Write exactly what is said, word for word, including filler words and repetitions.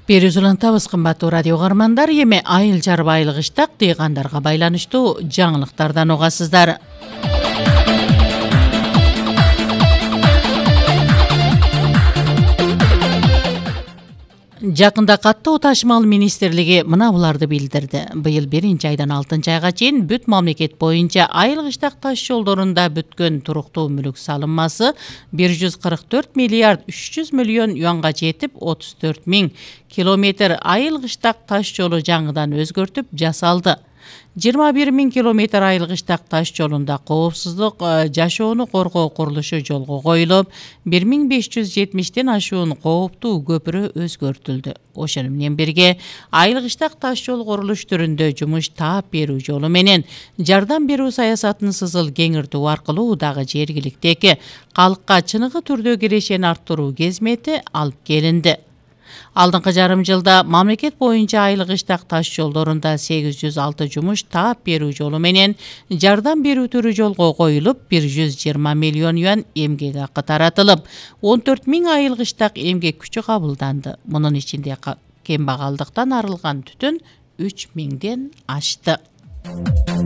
Берүүs улантабыз, кымбаттуу радио каармандар. Эми айыл чарба айлык иштак дыйгандарга байланыштуу жаңылыктардан угасыздар. Жакында каттуу ташымал министрлиги мына буларды билдирди. Быйыл биринчи айдан алтынчы айга чейин бүт мамлекет боюнча айыл иштак таш жолдорунда бүткөн туруктуу мүлүк салынмасы бир жүз кырк төрт миллиард үч жүз миллион юанга жетип, отуз төрт миң километр айыл иштак таш жолу жаңыдан өзгөртүп жасалды. жыйырма бир миң километр айыл иштак таш жолунда коопсуздук жашоону коргоо курулушу жолго коюлуп, бир миң беш жүз жетимиштен ашуун кооптуу көпүрө өзгөртүлдү. Ошону менен бирге айыл иштак таш жол курулуш түрүндө жумуш таап берүү жолу менен жардам берүү саясатын сызыл кеңиртүү аркылуу дагы жергиликтеги калкка чыныгы түрдө кирешени арттыруу кезмети алып келинди. Алдыңкы жарым жылда мамлекет боюнча айыл иштак таш жолдорунда сегиз жүз алты жумуш таап берүү жолу менен жардам берүү түрү жолго коюлуп, бир жүз жыйырма миллион юан эмгек акы таратылып, он төрт миң айыл иштак эмгек күчү кабылданды. Мунун ичинде кембагалдыктан арылган түтүн үч миңден ашты.